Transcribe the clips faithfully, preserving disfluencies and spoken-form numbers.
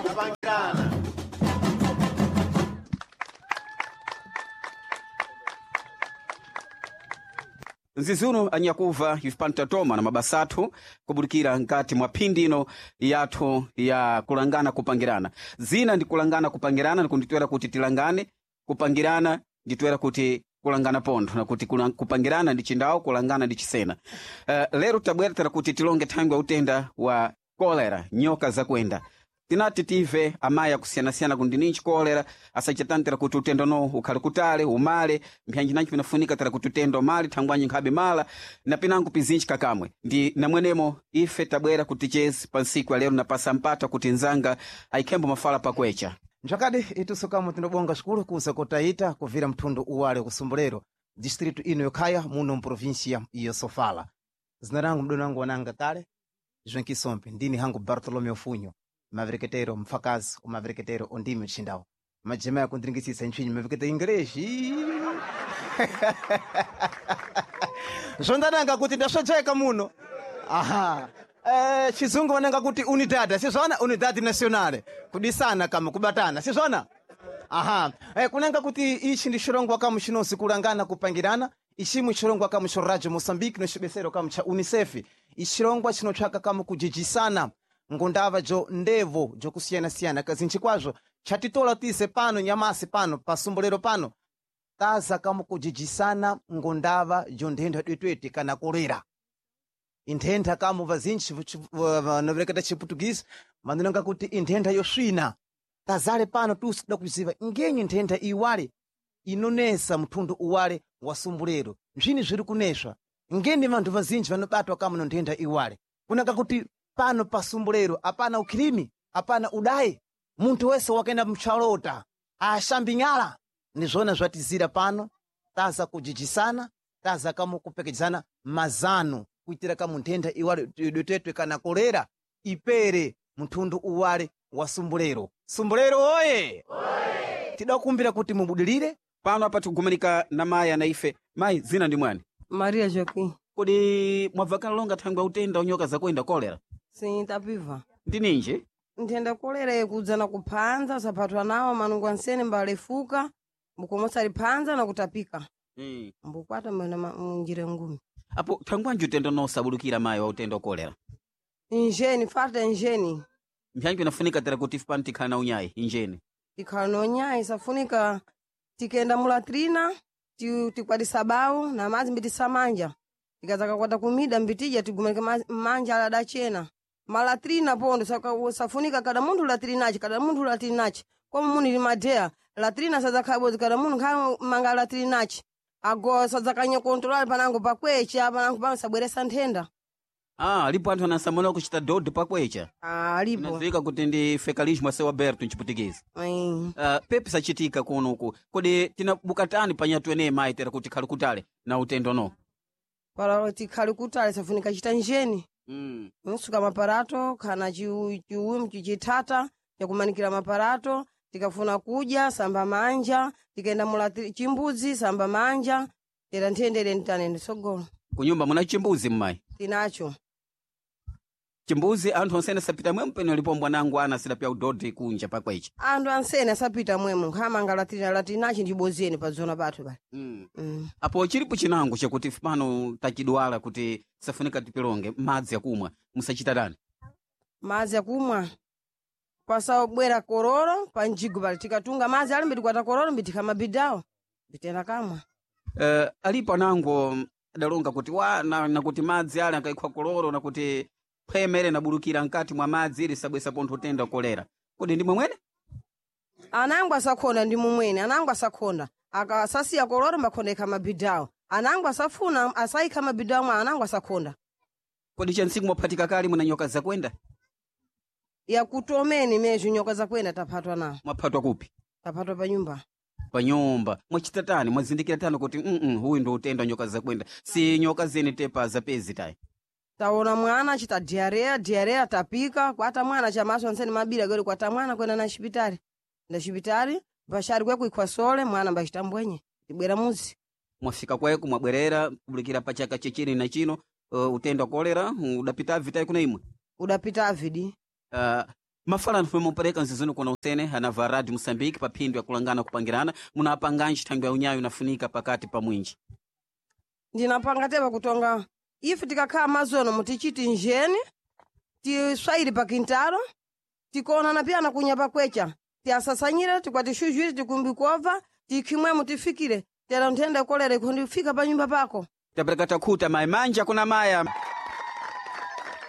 Kupangirana. Nzizi uno anyakuva ife pano tatoma na mabasa athu kubudikira nkati mwa phindi ino yathu ya kulangana kupangirana. Zina ndi kulangana kupangirana nikunditwera kuti tilangane, kupangirana nditwera kuti kulangana pontho na kuti kula- kupangirana ndi chindawo, kulangana ndi chisena. Uh, lero tabwera tera kuti tilonge thangwi ya utenda wa kolera, nyoka zakuenda. Tinati tive amayi akusiyana-siyana kuti ninji kolera asachatantira kuti utendo no ukhale kutale umale mphanji nanji pinafunika tera kuti utendo umale thangwanyi nkhabe mala na pinango pizinji kakamwe. Ndi namwenemo ife tabwera kuti chezi pa nsiku ya lero napasa mpata kuti nzanga ayikhembo mafala pakwecha. Nzvakadi itusu kamwe tinobonga zvikuru kuza kotaita kubvira mthundu uwale kusumbulero distritu ino yokhaya muno mprovinsia iyo Sofala. Zina rangu mdoni wangu wananga kale João ndini hangu Bartolomeu Funho, mavereketero mfakazi umavereketero ondimi mchindawo majema yakundiringisisa ntchwinyi maverekete ingreshi zvondananga kuti ndasvedzeka muno aha. Eh, chizungu vananga kuti unidad sizvona unidad nationale kudisana kama kubatana sizvona aha. Eh, kunanga kuti ichi ndi chirongwa kamu chinozi kulangana kupangirana ichimwe chirongwa kamu cha radio Moçambique no chibesero kamu cha UNICEF ichirongwa chinotsvaka kamu kujijisana ngondava jo ndevo jokusiyana-siyana kazinji kwazvo chatitola tise pano nyamasi pano pasumbulero pano taza kamu kujijisana ngondava jo nthenda twetwete kana kolera inthentha kamu vazinji vanovereketa chiputukisi vanonanga kuti inthentha yoswina tazale pano tusi toda kuziva ngenyi nthentha iwale inonesa mthundu uwale wa sumbulero nzvini zviri kuneswa ngeni vanthu vazinji vanobatwa kamu no nthentha iwale kunanga kuti pano pa sumbulero apana ukhilimi apana udayi munthu wese wakaenda mchalota ashambi nyala ndizvona zvatizira pano taza kujijisana taza kamu kupekedzana mazano kuitira kamu nthentha iwale dotetwe kana kolera ipere mthundu uwale wa sumbulero. Sumbulero oye! Tidakumbira kuti mubudilire Pano apa tikugumanika na mayi ana ife. Mayi, zina ndi mwani? Maria Joaquim. Kodi mwabvakana longa thangwi ya utenda wa nyoka zakuenda kolera? Sim, tapiva. Ndi ninji? Nthenda kolera ikudza na kuphanza, usaphathwa nawo manungo ansene mbalefuka, mbukomosa liphanza na kutapika. Mm. Mbukwata mwena ma- munjira ngumi. Apo thangwanji utendo no usabulukira mayi wa utenda wa kolera? Injeni, falta injeni. Mphanji inafunika tera kuti ife pano tikhala na unyayi injeni. Tikhala nonyayi safunika tikenda mulatrina, ti- tikwadisa bawo na madzi mbitisamanja. Tikadzakakwata kumida mbitija tigumanike ma- manja ala adachena. Malatrina pondo saka- safunika kada munthu latrinaci, kada munthu latrinaci. Como munthu ili madeya, latrina sadzakhala kada munthu nkhala manga latrinaci. Ago sadzakanya kontrola panango pakwecha, panango pano sabweresa nthenda. Ah, alipo anthu anasamala kuchita dodo pakwecha. Ah, alipo. Inadziwika kuti ndi fecalismo a seu aberto mchiputikezi. Mm. Uh, pepi sachitika kunoku. Kodi tinabukatani panyatu eneyi mayi tera kuti khali kutale na utendo no? Para tikhale kutale safunika chita njeni. Mm. Nsuka maparato kana chiu- chiumu chichithata chakumanikira maparato tikafuna kudya samba manja tikaenda mula chimbudzi samba manja tera nthendere ntanene sogolo Kunyumba muna chimbuzi mmayi. tinacho Chimbuzi anthu onsene sapita mwemu peno lipo mbwanangu ana sidapya udodi kunja pakwecha. anthu ansene asapita mwemu nkhamanga latrina latrinachi ndibozeni padzona pathu pali Mm. mm. Apo chilipo chinango chakuti ife pano tachidwala kuti safunika tipilonge madzi akumwa musachita tani. madzi akumwa pasabwera kororo pa mjigo pali tikatunga madzi ali mbitikwata kororo mbitikamabidawo mbitena kamwa Uh, alipo anango adalonga kuti wa na, nakuti madzi ale akaikhwa koloro nakuti phwemere nabulukira nkati mwa madzi ili sabwesa pontho utenda kolera. Kodi ndi mwemwene? Anangu asakhonda ndi mumwene anangu asakhonda akasasiya koloro mbakhonda ikha mabidawo anangu asafuna asayikha mabidawo mwa anangu asakhonda Kodi chansiku mwaphatika kale muna nyoka zakwenda? yakutomeni mezho nyoka zakwenda taphatwa nawo Mwaphatwa kupi? taphatwa pa nyumba Pa nyumba. Mwachita tani? Mwazindikira tani kuti mm -mm, huyu ndo utenda wa nyoka zakwenda. Si nyoka zene tepa zapezi tayi. taona mwana achita diarrea diarrea tapika kwata mwana chamaso ansene mabira kweli kwata mwana kwenda na xipitali nda xipitali bashari kwekuikhwa sole mwana mbachita mbwenye tibwera muzi Mwafika kweko mwabwerera kubulikira pa chaka chechini na chino uh, utenda wa kolera udapita vitayi kuna imwe. udapita avidi Uh, Mafala mpereka nzizino kuna usene anava Radio Mosambiki pa phindu ya kulangana kupangirana munapanganji thangwi ya unyayo inafunika pakati pa mwinji. Ndinapanga tepa kutonga ife tikakhala mazono mutichiti njeni tiswayiri pa quintalo tikuonana piyana kunya pakwecha tiasasanyire tikwatixuxwiri tikumbikova tikhimwemo tifikire tera nthenda kolera ikhondifika pa nyumba pako. Tapereka takhuta mayi manja kuna maya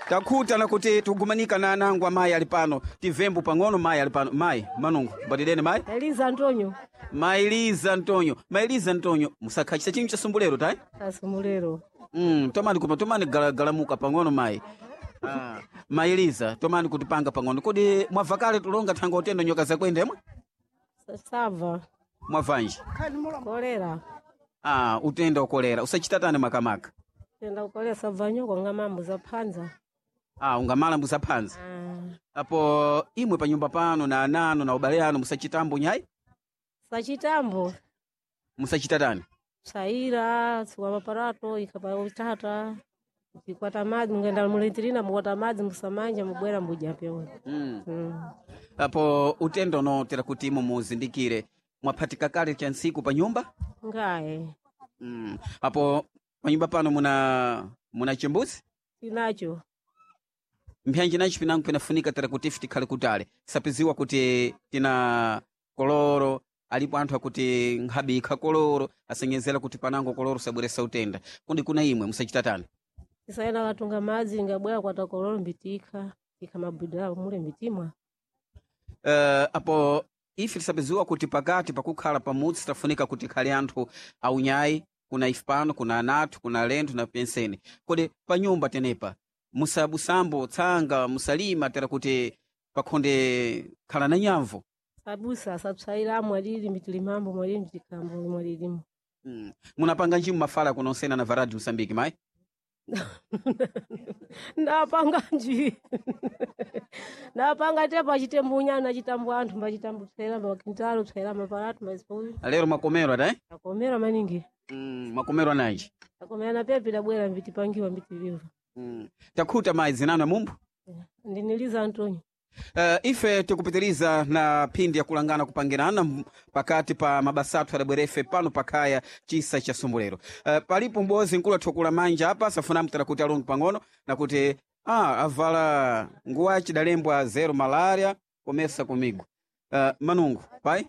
takhuta nakuti tikugumanika na anangu amayi ali pano tivembu pang'ono mayi ali pano mayi manungu mbatideni mayi. Eliza Antonio. Mailiza Antonio, Mailiza Antonio, musakhachisa chinthu cha sumbulero tayi. Asumulero. Mm, tomani kuma tomani gala, galamuka pang'ono mayi. Ah, Mailiza tomani kutipanga pang'ono kodi mwabva kale tulonga thanga utendo nyoka zakwenda imwe Sava. mwabvanji Kolera. ah, utenda ukolera usachitatani makamaka. Tenda ukolera sabva nyoko nga mambo za phanza. Ah, ungamala musaphanza. Ah. Apo imwe pa nyumba pano na anano na ubale ano musachitambo nyayi. Sachitambo. Musachitatani. Saira, suwa maparato, ikapa utata. Ikwata madzi mungenda mulitirina mukwata madzi musamanja mubwera mbuja pyo. Mm. Mm. Apo utendo unotera kuti imo muzindikire mwaphatika kale cha ntsiku pa nyumba. Ngaye. Mm. Apo panyumba pano muna muna chimbuzi. Tinacho. Mpyanji nacho pinango pinafunika tera kuti ife tikhale kutale sapiziwa kuti tina koloro alipo anthu akuti nkhabikha koloro asenyezera kuti panango koloro sabweresa utenda kundi kuna imwe musachitatani. Isaena katunga madzi ngabwera kwata kololo mbitika. Ika mabuda mule mbitimwa. Uh, apo ife tisapiziwa kuti pakati pakukhala pamudzi tafunika kuti khale anthu aunyayi kuna ife pano kuna anathu kuna alendo na penseni kodi pa nyumba tenepa musabusambo tsanga musalima tera kuti pakhonde khala na nyamvu. Sabusa sapsaira mwalili mbitilimambo mwalili mbitikambo mwalilimu. Mm. Munapanga njimu mafala kunonsena na varadi Mosambiki mayi. Ndapanga nji ndapanga tepa chitembunya nachitambu anthu mbachitambu psera mbakintalo psera mapalatu mazipo. Lero makomero ata eh? Akomera maningi. Mm, makomero ananji. Akomera na pepi dabwera mbitipangiwa mbitiliva. Mm. Takhuta mayi zinano mumbu. Ndiniliza Antonio. Uh, ife tikupitiriza na phindi ya kulangana kupangirana m- pakati pa mabasa athu adabwerefe pano pakhaya chisa cha sumbulero. Uh, palipo m'bozi nkulu athukula manja apa safuna mtera kuti alonge pang'ono nakuti ah, avala nguwa chidalembwa zero malaria komesa kumigo. Uh, manungu pai.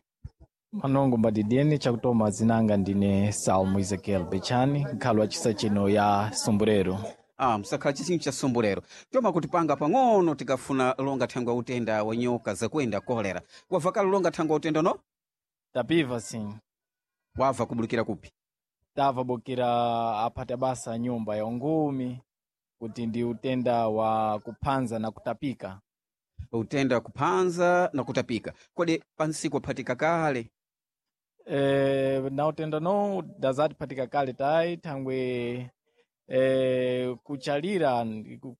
Manongo mbadidiyeni chakutoma zinanga ndine Salmo Ezekiel Bechani nkhalo wa chisa chino ya Sumbulero. Ah, msakhala chinthu cha sumbulero toma kutipanga pang'ono tikafuna longa thangwi ya utenda wa nyoka zakwenda kolera wabva kale longa thangwi ya utenda no. Tapiva sim. Wabva kubulukira kupi? Tava bukira aphata basa nyumba ya ungumi kuti ndi utenda wa kuphanza na kutapika. Utenda kuphanza na kutapika kodi pansiku aphatika kale? E, na utenda no dazatipatika kale tayi thangwe e, kuchalira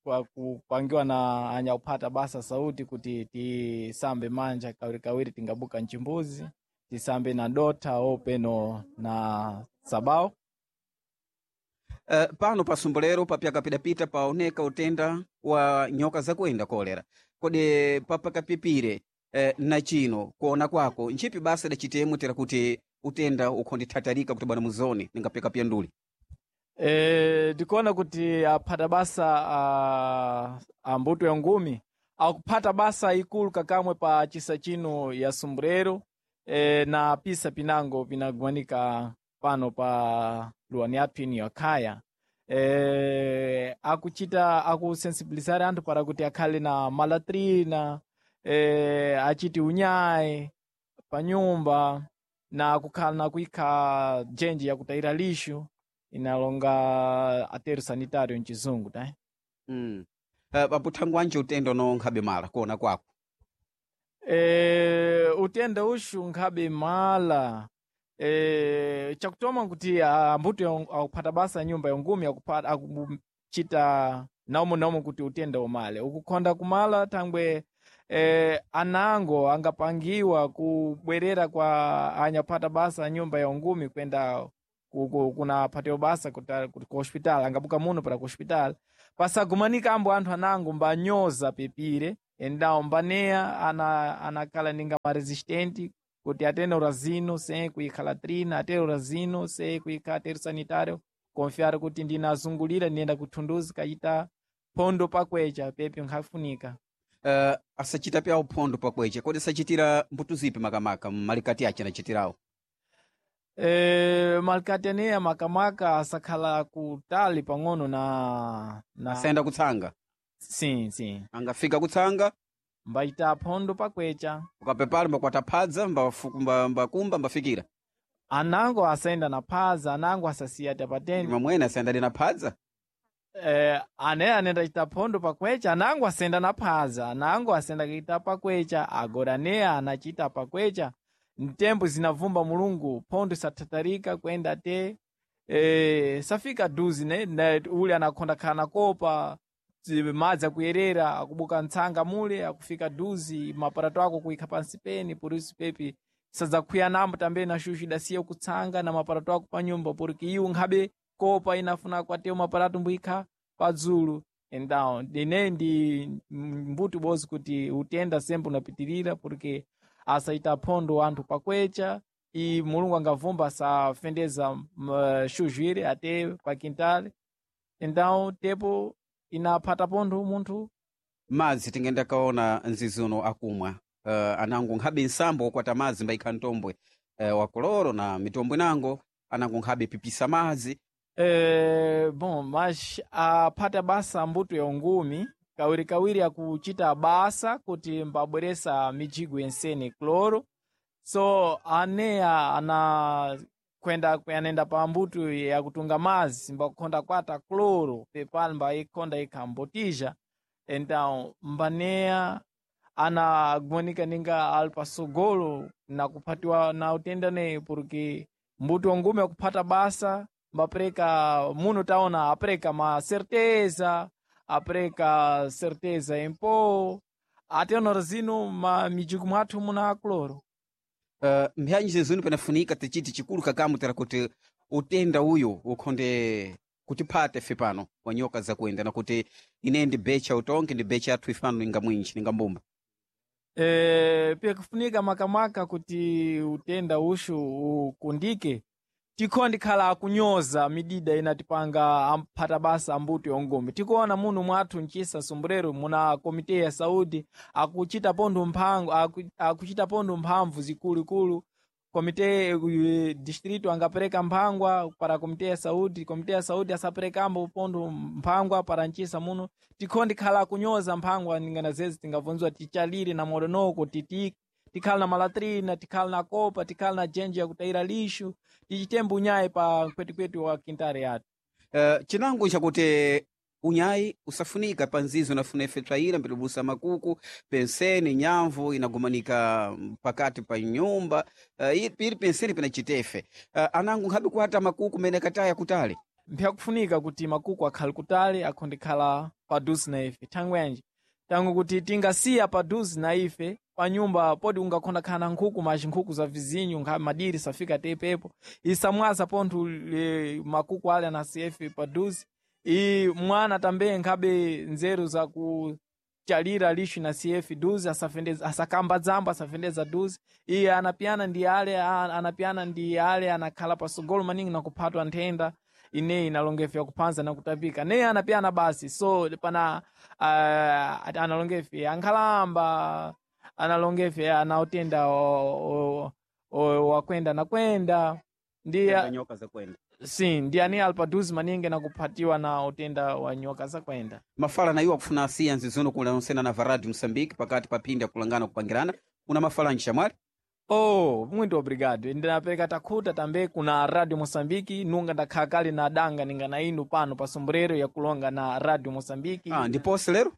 kwa- kupangiwa na anyakuphata basa sauti kuti tisambe manja kawirikawiri tingabuka mchimbuzi tisambe na dotha openo na sabao. Uh, pano pa sumbulero papyakapidapita paoneka utenda wa nyoka zakwenda kolera kodi papakapipire eh, na chino kuona kwako ntchipi basa dacitemo tera kuti utenda ukhondithatarika kuti bwana muzoni ningapyakapya nduli. E, ndikuona kuti aphata basa a, a mbuto ya ngumi akuphata basa ikulu kakamwe pa chisa chino ya Sumbulero e, na pisa pinango pinagwanika pano pa luwani yathu ino yakhaya. E, akuchita akusensibilizar anthu para kuti akhale na malatrina e, achiti unyayi pa nyumba na kukhala na kuikha jenji yakutayira lixo inalonga ateru sanitário mchizungu tá? Mm. Uh, paputhangwi anje utenda unonkhabe mala kuona kwako? E, utenda uxu nkhabe mala e, chakutoma nkuti ambuto akuphata basa nyumba ya ngumi akuphata akuchita naumo naumo kuti utenda umale ukukhonda kumala thangwe e, anango angapangiwa kubwerera kwa anyaphata basa nyumba ya ngumi kwenda ku- ku- kuna phatiwa basa kuta- ku ku hospital angabuka muno para ku hospital pasagumanika ambo anthu anango mbanyoza pepire. Então mbaneya ana anakhala ninga maresistente kuti atene urazino sem kuikha latrina, atene urazino sem kuikha ateru sanitário, confiar kuti ndinazungulira ndiyenda kuthunduzi kachita phondo pakwecha pepe nkhafunika. Uh, asachita pyawo phondo pakwecha kodi asachitira mbuto zipi makamaka malikati ache anachitirawo? E, malikati aneya makamaka asakhala kutali pang'ono na, na asayenda kutsanga? Sim, sim. Angafika kutsanga mbachita phondo pakwecha. Ukapepala mbakwata phadza mbafuku- mba- mbakumba mbafikira. Anango asayenda na phaza, anango asasiya tapateni. Mamwene asayenda na phadza. Eh, ane anenda chita phondo pakwecha, anango asenda na phaza, anango asenda kuita pakwecha, agora neya anachita pakwecha. Mtembo zinavumba Mulungu, phondo sathatarika kwenda te eh, safika duzi ne, ne ule anakhonda khala nakopa zi- madzi akuyerera akubuka ntsanga mule akufika duzi maparato ako kuikha pansi peni purisu pepi sadzakhuya nambo tambe na shushu idasiya kutsanga na maparato ako pa nyumba porque iwo nkhabe kopa inafuna kwatewo maparato mbuyikha padzulu. Então ine ndi mbuti bozi kuti utenda sembe unapitirira porque asaita phondo anthu pakwecha i Mulungu angavumba asafendeza mm, shuzhwire ate pa quintal. Então tepo inaphata pontho munthu. Madzi tingenda kaona nzizi uno akumwa uh, anango nkhabe nsambo wokwata madzi mbayikha mtombwe uh, wakoloro na mitombwe nango anango nkhabe pipisa madzi. Eh, bom, mas aphata basa mbuto ya ungumi kawirikawiri akuchita basa kuti mbabweresa mijigo yensene cloro, so aneya ana kwenda anenda pa mbuto yakutunga mazi mbakukhonda kwata cloro pepali mbayikhonda ikhambotija. Então mbaneya anagonika ninga ali pasogolo na kuphatiwa na utenda neyi porque mbuto wa ngumi akuphata basa mbapereka muno taona apereka ma certeza, apereka certeza em pó ate onorazino ma mijigo mwathu muna cloro. Uh, mphanyi zizuni panafunika tichiti chikulu kakamu tera kuti utenda uyu ukhonde kutiphata ife pano wa nyoka zakuenda nakuti ine ndi becha utonke ndi becha athu ife pano ninga mwinji ninga mbumba. E, pyakufunika makamaka kuti utenda ushu ukundike tikhondi khala akunyoza midida inatipanga amphata basa ambuto yongumi. Tikuona muno mwathu mchisa sombrero muna komite ya saúde akuchita pontho mphango aku, akuchita pontho mphamvu zikulukulu. Komite eh, distrito angapereka mphangwa para komite ya saúde, komite ya saúde asaperekambo pontho mphangwa para mchisa muno. Tikhondi khala akunyoza mphangwa ningana zezi tingabvunzwa tichalire na modonoko titi tikhala na malatrina, tikhala na kopa, tikhala na jenje yakutayira lixo, tichitembo unyayi pa kwetikweni wa quintare yathu. Uh, chinango nchakuti unyayi usafunika pa nzizi unafuna ife tswayira mbitibusa makuku penseni nyamvu inagumanika pakati pa nyumba uh, ili penseni pinachitefe uh, anango nkhabe kuata makuku mene kataya kutali. Mpyakufunika kuti makuku akhale kutali akhondekhala paduze na ife thangwenje tangu kuti tingasiya paduze na ife pa nyumba podi ungakhonda khala na nkhuku mas nkhuku za vizinho nkha madiri safika tepepo isamwaza pontho e, makuku ale anasiya ife paduze i mwana tambe nkhabe nzeru za kuchalira lixo na C F duze asafendeza asakamba dzambo asafendeza duze iye anapiyana ndi ale a- anapiyana ndi ale anakhala pasogolo maningi na kuphatwa nthenda ineyi inalongefe yakuphanza na kutapika neye anapiyana basi so pana uh, analongefe ankhalamba analongefe anautenda o- o- o- wakwenda na kwenda ndi Nyoka zakwenda. Sim, ndi ani ali paduze maningi na kuphatiwa na utenda wa nyoka zakwenda. Mafala na iwo akufuna asiya nzizuno kulonsena na varadi Moçambique pakati pa phindi akulangana kupangirana una mafala nchamwali. Oh, muito obrigado. Ndinapereka takhuta tambe kuna Radio Moçambique, nunga ndakhala kale na danga ninga na inu pano pa sombrero yakulonga na Radio Moçambique. Ah, ndiponse lero.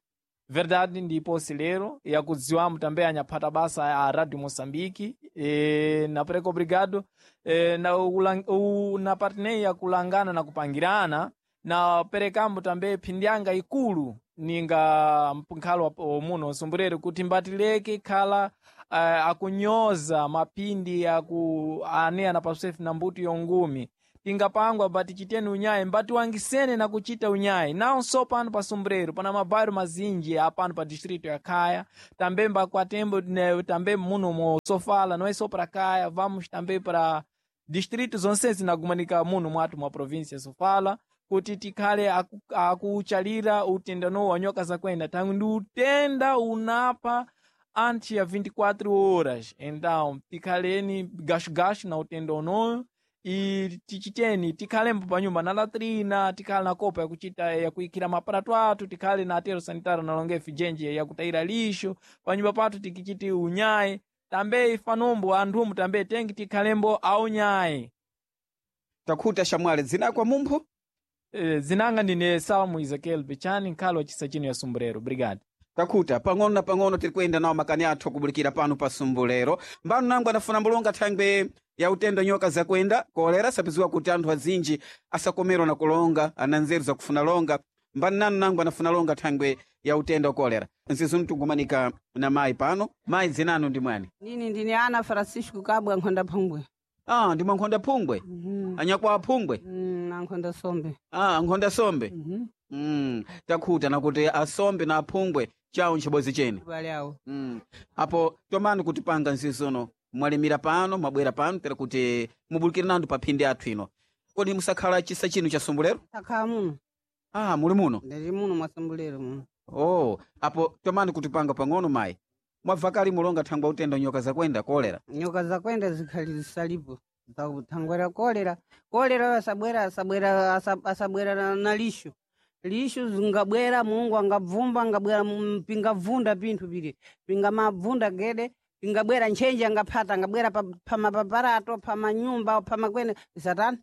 Verdade, ndipo lero yakudziwamo tambe anyaphata basa a Radio Moçambique. E, napereka obrigado e, na, ulang, u, na partenei yakulangana na kupangirana na perekambo tambe phindyanga ikulu ninga mphalo wa muno sombrero kuti mbatileke khala uh, akunyoza mapindi aku ane anapaswefu na mbuto yongumi. Tingapangwa mbati chiteni unyayi, mbatiwangisene na kuchita unyayi. Nawo so pano pa Sumbrero pana mabairo mazinji apano pa distrito ya Kaya, também bakwatembo ne, também muno mo Sofala, não é só para Kaya, vamos também para distritos zonse zinagumanika muno mwathu mwa província Sofala kuti tikhale aku- akuchalira utendano wa nyoka zakwenda tangu ndi utenda unapha antes ya vinte e quatro horas. Então tikhaleni gashugashu na utenda unoyo e tichiteni tikhalembo panyumba na latrina, tikhale na kopa yakuchita yakuikira maparato athu, tikhale na atero sanitário na longefi jenje yakutayira lixo panyumba pathu, tikichiti unyayi tambe ifanombo anthumu tambe tengi tikhalembo aunyayi. Takhuta xamwali, dzina kwa mumpho? Eh, zinanga ndine Salmo Ezequiel Pichani, nkhalo wa chisa chino ya Sumbrero. Obrigado. Takhuta. Pang'ono na pang'ono tiri kuyenda nawo makani athu akubulikira pano pa Sumbulero. Mbano nangu anafuna mbulonga thangwe ya utendo nyoka zakwenda kolera, sapiziwa kuti anthu azinji asakomerwa na kulonga ana nzeru zakufuna longa. Mbani nanu nangu anafuna longa thangwe ya utendo wa kolera. Nzizu tikugumanika na mayi pano. Mayi, dzinanu ndi mwani? Nini ndine Ana Francisco Kabwa, nkhonda Phungwe. Ah, ndi mwankhonda Phungwe? Mhm. Anyakwa aphungwe? Mm, na nkhonda Sombe. Ah, nkhonda Sombe. Mhm. mm. takhuta nakuti asombe na aphungwe chawo nchibozi chene. Bale awo. Mm. Apo tomani kutipanga nzizono mwalimira pano, mwabwera pano tera kuti mubulikire nandu pa phindi athu ino. Kodi musakhala chisa chinu cha Sumbulero? Takhala muno. Ah, muli muno? Ndili muno mwa Sumbulero muno. Oh, apo tomani kutipanga pang'ono mayi. Mwabva kali mulonga thangwa utenda nyoka zakwenda kolera? Nyoka zakwenda zikhali zisalipo. Thangwera kolera. Kolera asabwera asabwera asa- asabwera na, na lisho. Lisho zingabwera Mungu angabvumba angabwera mm, pingabvunda pinthu pili. Pingamabvunda gede pingabwera ntchenje angaphata angabwera pa, pa mapaparato pa manyumba pa makwene satani.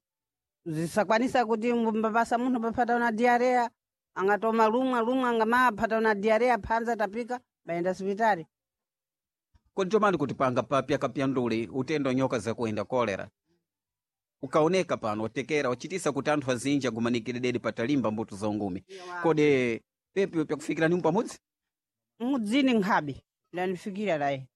Zisakwanisa kuti mbapasa munthu paphata una diarrea angatoma lumwa lumwa angamapata una diarrea phanza tapika bayenda sipitali. Kodi tomani kutipanga papya kapyanduli utenda nyoka zakwenda kolera ukaoneka pano watekera wachitisa kuti anthu azinji agumanikire dedi patalimba mbuto za ungumi. Kodi pepi pyakufikira nimu pamodzi? Mudzini nkhabe ndanifikira laye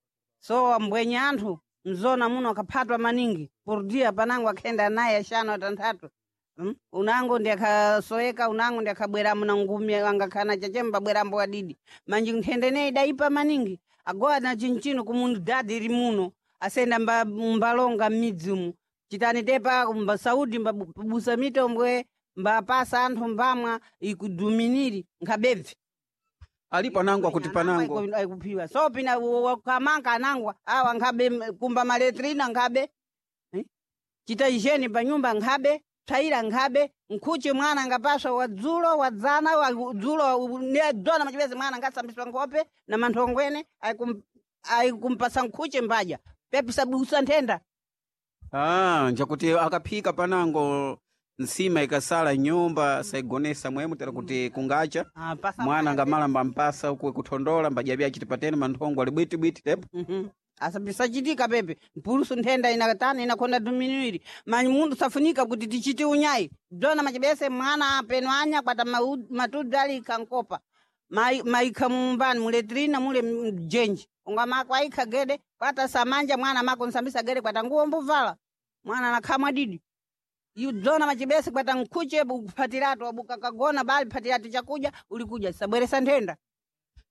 so ambwenye anthu mzona muno akaphatwa maningi por dia panango akhenda naye axanu atanthatu. Mm? Unango ndi akhasoeka unango ndi akhabweramo na ngumi angakhana chachemba bwerambo adidi manji nthenda ineyi idaipa maningi agowa na chinchino kumunidadi iri muno asenda mba, mbalonga m'midzi umu chitani tepa mba saudi mbabusa mitombwe mbapasa anthu mbamwa ikuduminiri nkhabebve. Alipo anango akuti panango Aikuphiwa so pina wakamanga anangwa awa nkhabe m- kumba maletrina nkhabe. Eh? Chita ijeni pa nyumba nkhabe tsaira nkhabe nkhuche mwana angapaswa wadzulo wadzana wadzulo nedona machipezi mwana angasambiswa nkhope na manthongwene aikum- aikumpasa nkhuche mbadya pepisabusa nthenda. Ah, njakuti akaphika panango nsima ikasala nyumba saigonesa mwemu tera kuti kungacha. Ah, pasa mwana angamala mbampasa uku kuthondola mbadya achiti patene manthongo ali bwitibwiti tepo. Mhm. Asapisachitika pepe mpulusu nthenda inatani inakhonda duminuiri manyi mundu safunika kuti tichite unyayi dona machibese mwana apeno anya kwata mau- matudzi ali ikha nkopa Mai- maikha mumbani muletrina mule mjenji unga mako aikha gede kwata samanja mwana mako nsambisa gede kwata nguwo mbuvala mwana nakhamwa didi idzona machibese kwata nkhuche kuphatiratu abukakagona bali phatiratu chakudya ulikuja sabweresa nthenda.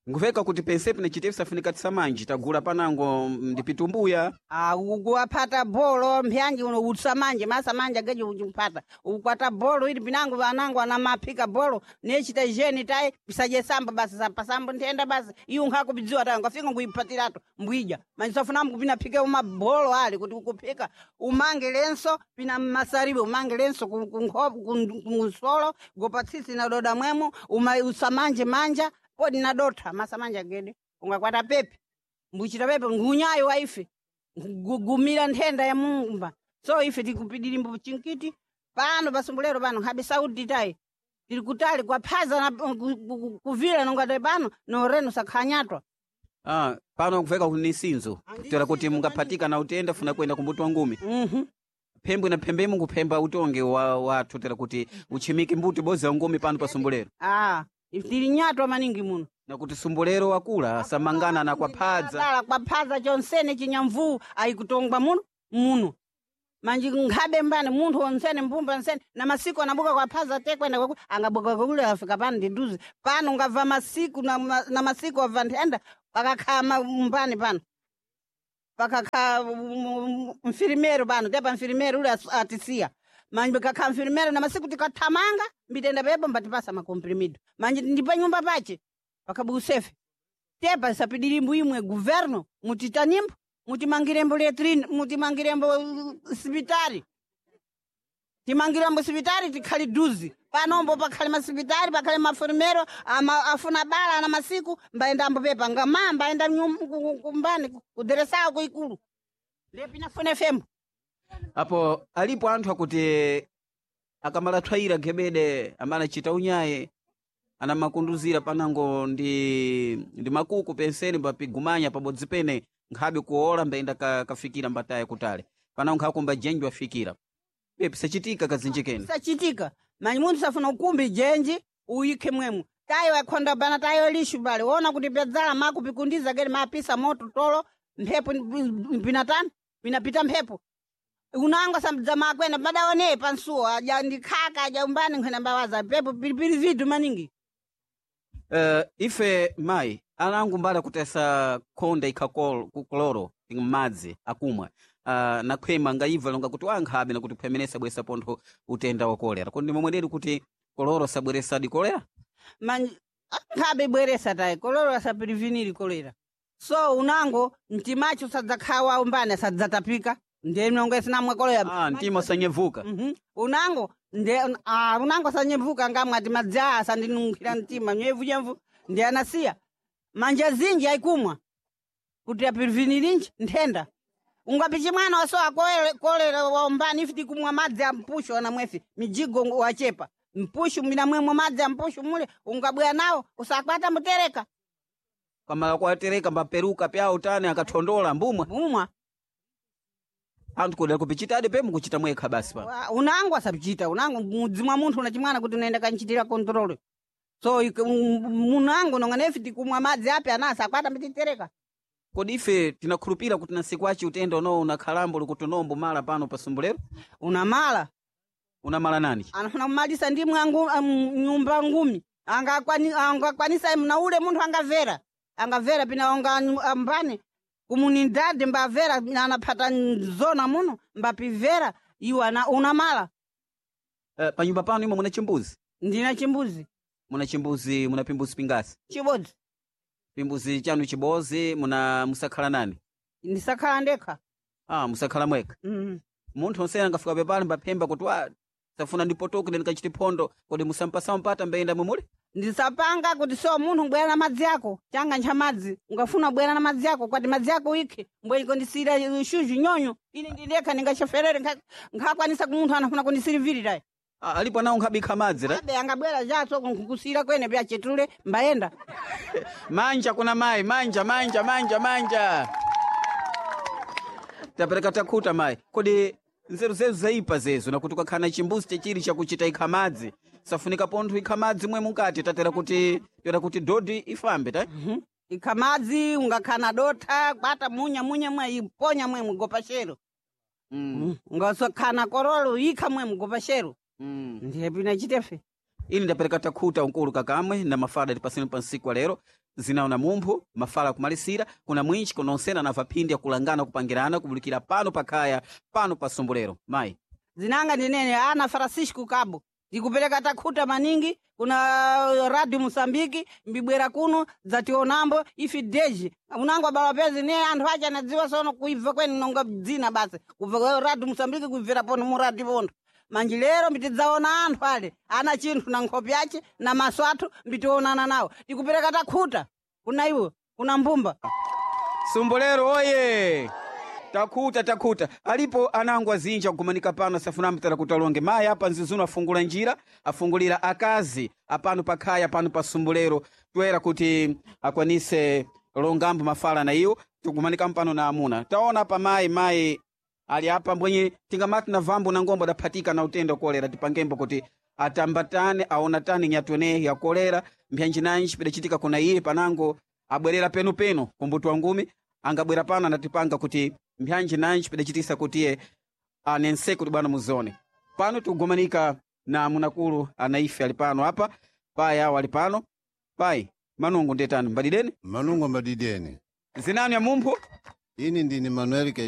Nkuveka kuti pensepi na chitepi safunika tisamanji tagula panango ndipitumbuya. Ah, ukuwaphata bolo mpyanji uno utsamanje masamanja geje uchiphata ukwata bolo ili pinango anango anamaphika bolo nechita jeni tai pisaje samba basi sapasambo nthenda basi iyo nkhakubidziwa tayo ngafika nguiphatiratu mbwija manjisafuna kupina phike uma bolo ali kuti ukuphika umange lenso pina masaribe umange lenso ku- ku nkhopo ku- kunsolo gopatsitsi na doda mwemo uma usamanje manja kodi nadotha masamanja gede ungakwata pepe mbuchita pepe ngunyayo waife gugumira nthenda ya mumba so ife tikupidirimbo chinkiti pano pasumbulero pano nkhabe saudi tayi tiri kutali kwaphaza na ku- ku- ku- kuvila nongati pano noreno sakhanyatwa. Ah, pano nkuveka kuti ni sinzo tera kuti mungaphatika na utenda funa kuenda kumbuto wa ngumi. Mhm. Phembwe na phembemu nkuphemba utonge wa wathu tera kuti uchimike mbuto bozi ya ngumi pano pa Sumbulero. Ah, ife tili nyatwa maningi muno. Nakuti Sumbulero wakula asamangana na kwaphadza. Dala kwaphaza chonsene chinyamvuu ayikutongwa muno muno. Manji nkhabe mbani munthu onsene mbumba nsene na masiku anabuka kwa phaza tekwenda kwaku angabuka kule afika pano ndiduze pano ungabva masiku na, ma- na masiku abva nthenda pakakhala ma- mbani pano pakakhala mfirimero pano tepa mfirimero ule asu- atisiya manje kakhala mfirimero na masiku tikathamanga mbitenda pepo mbatipasa makomprimido manje ndi nyumba pache pakabusefe tepa sapidirimbo imwe guverno mutitanimbo mutimangirembo letrine mutimangirembo uh, sipitari timangirembo sipitari tikhali duzi panombo pakhale masipitari pakhale mafurimero ama, afuna bala na masiku mbaendambo pepa ngama mbaenda nyum- ku- ku- kumbani kuderesawo kuikulu ndepinafune fembo Apo alipo anthu akuti akamala thwayira gebede amene achita unyaye anamakunduzira panango ndi ndi makuku penseni mbapigumanya pabodzi pene nkhabe kuola mbayenda ka, kafikira mbataya kutale panango nkhakumba jenji wafikira iye pisachitika kazinjikeni sachitika manyi munthu safuna ukumbi jenji uyikhe mwemwe tayo akhonda bana tayo lishu bale wona kuti pyadzala makupikundiza gere mapisa moto tolo mphepo pinatani pinapita mphepo unangwa sambidza makwena madaone pansuwo aja ndikhaka aja umbani nkhwena mbawaza pepo pilipili vidu maningi Uh, ife mayi anangu mbali akutesa khonda ikha kol- ku kloro m'madzi akumwa uh, nakhwema ngayibva longa kuti wankhabe nakuti khwemenesa bwesa pontho utenda wa kolera kodi ndimomweneri kuti koloro sabweresadi kolera manji nkhabe bweresa tayi koloro asapiriviniri kolera so unango mtimacho sadzakhawa umbani asadzatapika ndiye mnongo isinamwe kolera ah, mtima usanyevuka Mhm. unango nde ah, unango sanyevuka ngamwe ati madzi aya asandinunkhira mtima nyevunyemvu ndi anasiya manja zinji aikumwa kuti apirivinirinji nthenda ungapichi mwana wasowa kolera kolera waombani ife tikumwa madzi a mpushu anamwefi mijigo wachepa mpushu minamwemwe madzi a mpushu mule ungabwera nawo usakwata mutereka kamala kwatereka mbaperuka pyawo tani akathondola mbumwa mumwa anthu kodera kupichitadi pemu kuchita mwekha basi pa Wa- unango asapichita unango mudzi mwa munthu una chimwana kuti unaenda kanchitira control so ik- m- munango nonga nefi tikumwa madzi api ana asakwata mbititereka kodi ife tinakhulupira kuti nasiku achi utenda unowo unakhalambo likuti unombo mala pano pasumbulero unamala unamala nani anafuna kumalisa ndi mwangu um, nyumba ngumi angakwani angakwanisa mna ule munthu angavera angavera pina anga ambani kumunindade mbavera anaphata zona muno mbapivera iwo ana unamala uh, panyumba pano imwe muna chimbuzi ndina chimbuzi muna chimbuzi muna pimbuzi pingasi chibodzi pimbuzi chanu chibozi muna musakhala nani ndisakhala ndekha ah, musakhala mwekha mm. munthu onsene angafika pepali mbaphemba kuti wa safuna ndipotoke ndikachite phondo kodi musampasa mpata mbayenda mwemuli ndisapanga kuti so munthu bwera na madzi ako changa ncha madzi ungafuna bwera na madzi ako kwati madzi ako ikhe mbweniko ndisira shuzhu nyonyo ine ndindekha ndingacheferere nkha- nkhakwanisa kumunthu anafuna kundisirivirira ah, alipo nawo nkhabikha madzi ra abe angabwera jaso nkusira kwene pyachetule mbayenda manja kuna mayi manja manja manja manja tapereka takhuta mayi kodi nzeru zezu zaipa zezo nakuti ukakhana chimbuzi chechiri chakuchita ikha madzi safunika pontho ikha madzi mwe mukati tatera kuti tera kuti dodi ifambe ta ikha madzi ungakhana dotha kwata munya munya mwe iponya mwe mugopa shero mm. ungasokhana korolo ikha mwe mugopa shero mm. ndiye pinachitefe ini ndapereka takhuta unkulu kakamwe na mafala tipaseni pa nsiku wa lero zinawo na mumphu mafala akumalisira kuna mwinchi kunonsena anava phindi akulangana kupangirana kubulikira pano pakhaya pano pa sumbulero mayi zinanga ndinene ana Francisco Cabo ndikupereka takhuta maningi kuna radio Mosambiki mbibwera kuno dzationambo ifi deji unango bala pezi ne anthu acha anadziwa sono kuibva kwene nonga dzina basi kubva kwa radio Mosambiki kuibvera pono mu radio pono manji lero mbitidzaona anthu ale ana chinthu na nkhope yache na maso athu mbitionana nawo ndikupereka takhuta kuna iwo kuna mbumba Sumbulero oye takhuta takhuta alipo anango azinji akugumanika pano asafuna mtara kuti alonge mayi apa nzizuno afungula njira afungulira akazi apano pakhaya pano pa sumbulero toera kuti akwanise longambo mafala na iwo tikugumanika mpano na amuna taona apa mayi mayi ali apa mbwenye tingamati na vambo na ngombo adaphatika na utenda wa kolera tipangembo kuti atambatane aonatane nyatwene ya kolera mbyanjinanji pidachitika kuna iye panango abwerera penupenu kumbuti wa ngumi angabwera pano anatipanga kuti mbyanji nanji pidachitisa kuti iye Anense kuti bwana muzone pano tikugomanika na munakulu anaife ali pano apa, pai awo ali pano. Pai, manungu ndetani mbadideni? Manungo mbadideni. Zinanu ya mumphu? Ini ndini Manuel.